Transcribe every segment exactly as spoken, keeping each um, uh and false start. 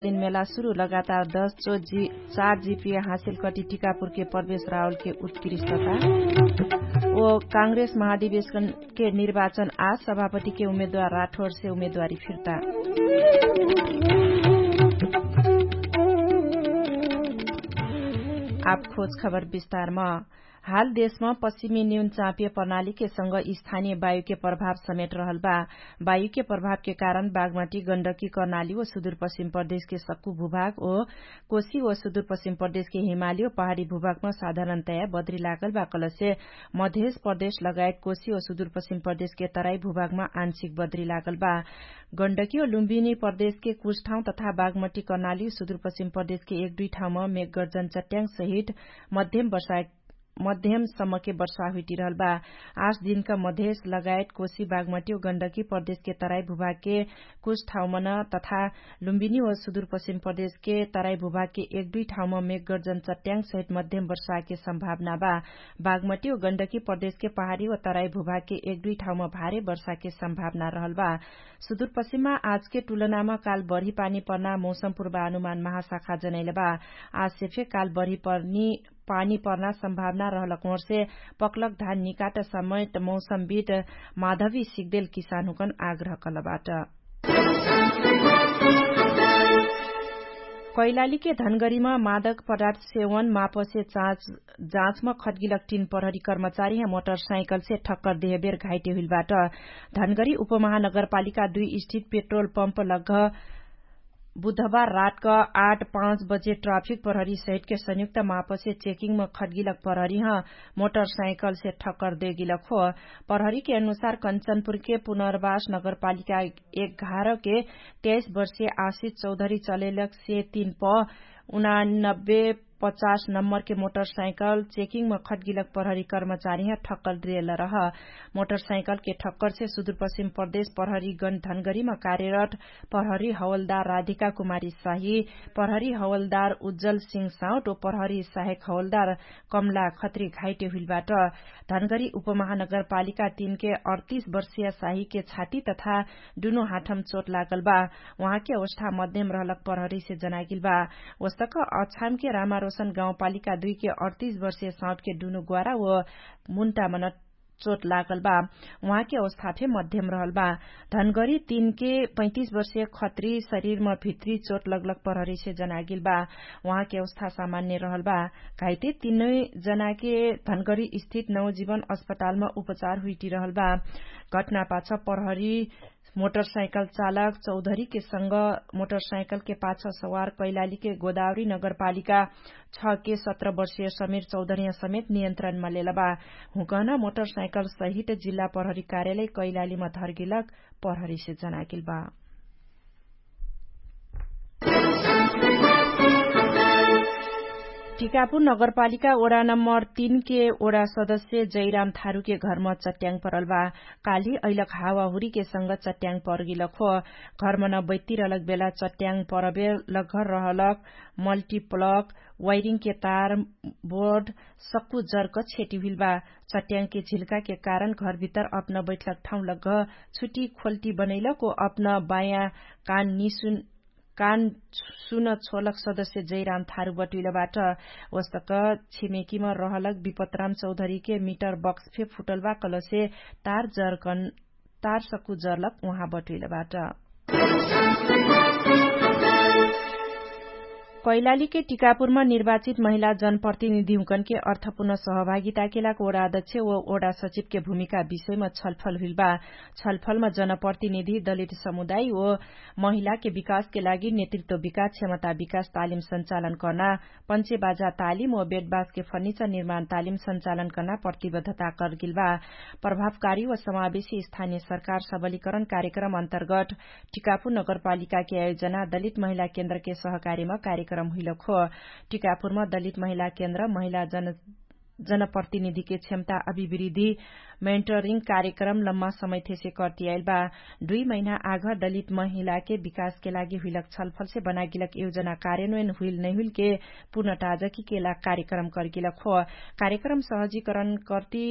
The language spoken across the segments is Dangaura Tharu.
दिनमेला सुरु लगातार दस चो चार जिपिए हासिल कटी टिकापुरके प्रवेश रावलके उत्कृष्टता। ओ काङ्ग्रेस महाधिवेशनके निर्वाचन आज सभापतिके उमेदवार राठोरसे उमेदवारी फिर्ता। आप खोज खबर विस्तारमा। हाल देशमा पश्चिमी न्यून चापिय प्रणालीके संग स्थानीय वायुके प्रभाव समेट रहल बा। वायुके प्रभावके कारण बागमटी गण्डकी कर्णाली व सुदूरपश्चिम प्रदेशके सक्कु भूभाग ओ कोशी व सुदूरपश्चिम प्रदेशके हिमाली व पहाडी भूभागमा साधारणतया बद्री लागल बा कलसे मधेश प्रदेश लगायत कोशी व सुदूरपश्चिम प्रदेशके तराई भूभागमा आंशिक बद्री लागल बा। गण्डकी व लुम्बिनी प्रदेशके कुछ ठाउँ तथा बागमटी कर्णाली व सुदूरपश्चिम प्रदेशके एक दुई ठाउँमा मेघगर्जन चट्याङ सहित मध्यम वर्षा मध्यम सम्मके वर्षा हुइटिरहल बा। आठ दिनका मधेश लगायत कोशी बागमटी व गण्डकी प्रदेशके तराई भूभागके कुछ ठाउँमन तथा लुम्बिनी व सुदूरपश्चिम प्रदेशके तराई भूभागके एक दुई ठाउँमा मेघगर्जन चट्याङ सहित मध्यम वर्षाके सम्भावना बा। बागमटी व गण्डकी प्रदेशके पहाडी व तराई भूभागके एक दुई ठाउँमा भारे वर्षाके सम्भावना रहल बा। सुदूरपश्चिममा आजके टुलनामा काल बढी पानी पर्ना मौसम पुर्वानुमान महाशाखा जनैल बा। आजसे फे काल बढी पर्नी पानी पर्ना सम्भावना रहलक ओर्से पक्लक धान निकाट समेत मौसमविद माधवी सिग्देल किसानहुकन आग्रह कलबाट। कैलालीके धनगरीमा मादक पदार्थ सेवन मापसे जाँचमा खटगिलक टिन प्रहरी कर्मचारी ह मोटरसाइकलसे ठक्कर देहबेर घाइटे हुइलबाट। धनगरी उपमहानगरपालिका दुई स्थित पेट्रोल पम्प लग्घ बुधबार रातक आठ पाँच बजे ट्राफिक प्रहरी सहितके संयुक्त मापसे चेकिङमा खटगिलक प्रहरी ह मोटरसाइकलसे ठक्कर देगिलक हो। प्रहरीके अनुसार कन्चनपुरके पुनर्वास नगरपालिका एघारके तेइस वर्षे आशिष चौधरी चलेलक से तीन प उनानब्बे पचास नम्बरके मोटरसाइकल चेकिङमा खटगिलक प्रहरी कर्मचारी ह ठक्कर देल रह। मोटरसाइकलके ठक्करसे सुदूरपश्चिम प्रदेश प्रहरी गण धनगरीमा कार्यरत प्रहरी हवलदार राधिका कुमारी साही, प्रहरी हवलदार उज्जल सिंह साउट ओ प्रहरी सहायक हवलदार कमला खत्री घाइटे हुइलबाट। धनगरी उपमहानगरपालिका तीनके अडतीस वर्षिया साहीके छाती तथा दुनु हाठम चोट लागल बा। उहाँके अवस्था मध्यम रहलक प्रहरीसे जनागिल बा। ओस्तक अछामके रामारोशन गाउँपालिका दुइके अडतीस वर्षिया साउटके दुनु ग्वारा ओ मुन्टामन चोट लागल बा। उहाँके अवस्था फे मध्यम रहल बा। धनगरी तीनके पैतिस वर्षिया खत्री शरीरमा भित्री चोट लगलक प्रहरीसे जनागिल बा। उहाँके अवस्था सामान्य रहल बा। घाइते तीनै जनाके धनगरी स्थित नवजीवन अस्पतालमा उपचार हुइटिरहल बा। घटनापाछ प्रहरी मोटरसाइकल चालक चौधरीके संग मोटरसाइकलके पाछ सवार कैलालीके गोदावरी नगरपालिका छके सत्र वर्षिय समीर चौधरीया समेत नियन्त्रणमा लेलबा। हुँकहना मोटरसाइकल सहित जिल्ला प्रहरी कार्यालय कैलालीमा धर्गिलक प्रहरीसे जनागिलबा। टिकापुर नगरपालिका ओडा नम्बर तीनके ओडा सदस्य जैराम थारुके घरमा चट्याङ परलबा। काली अइलक हावाहुरीके संग चट्याङ परगिलक हो। घरमा न बैत्तिरलक बेला चट्याङ परबे लग्घर रहलक मल्टिप्लक वाइरिङके तार बोर्ड सक्कु जर्क छेटी हुइलबा। चट्याङके झिल्काके कारण घरभितर अपना बैठलक ठाउँ लग्घ छुटी खोल्टी बनैलक ओ अपना बायाँ कान निसुन कान सुन छोलक सदस्य जैराम थारु बटुइलबाट। ओस्तक छिमेकीमा रहलक विपतराम चौधरीके मिटर बक्स फे फुटलबा कलसे तार जर्कन तार सक्कु जर्लक उहाँ बटुइलबाट। कैलालीके टिकापुरमा निर्वाचित महिला जनप्रतिनिधिहुँकनके अर्थपुर्ण सहभागिताके लाग ओडा अध्यक्ष व ओडा सचिवके भूमिका विषयमा छलफल हुइलबा। छलफलमा जनप्रतिनिधि दलित समुदाय व महिलाके विकासके लागि नेतृत्व विकास क्षमता विकास तालिम सञ्चालन कर्ना पञ्चे बाजा तालिम व बेडबासके फर्निचर निर्माण तालिम सञ्चालन कर्ना प्रतिबद्धता कर्गिलबा। प्रभावकारी व समावेशी स्थानीय सरकार सबलीकरण कार्यक्रम अन्तर्गत टिकापुर नगरपालिकाके आयोजना दलित महिला केन्द्रके सहकारीमा कार्यक्रम हुइलक हो। टिकापुरमा दलित महिला केन्द्र महिला जन जनप्रतिनिधिके क्षमता अभिवृद्धि मेन्टरिङ कार्यक्रम लम्मा समयथेसे कर्तियाइल बा। दुई महिना आघ दलित महिलाके विकासके लागि हुइलक छलफलसे बनागिलक योजना कार्यन्वयन हुइल नैहुइलके पुनटाजकीके लाग कार्यक्रम कर्गिलक हो। कार्यक्रम सहजीकरण कर्ति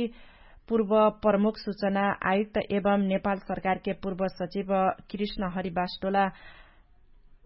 पूर्व प्रमुख सुचना आयुक्त एवं नेपाल सरकारके पूर्व सचिव कृष्ण हरिबास्टोला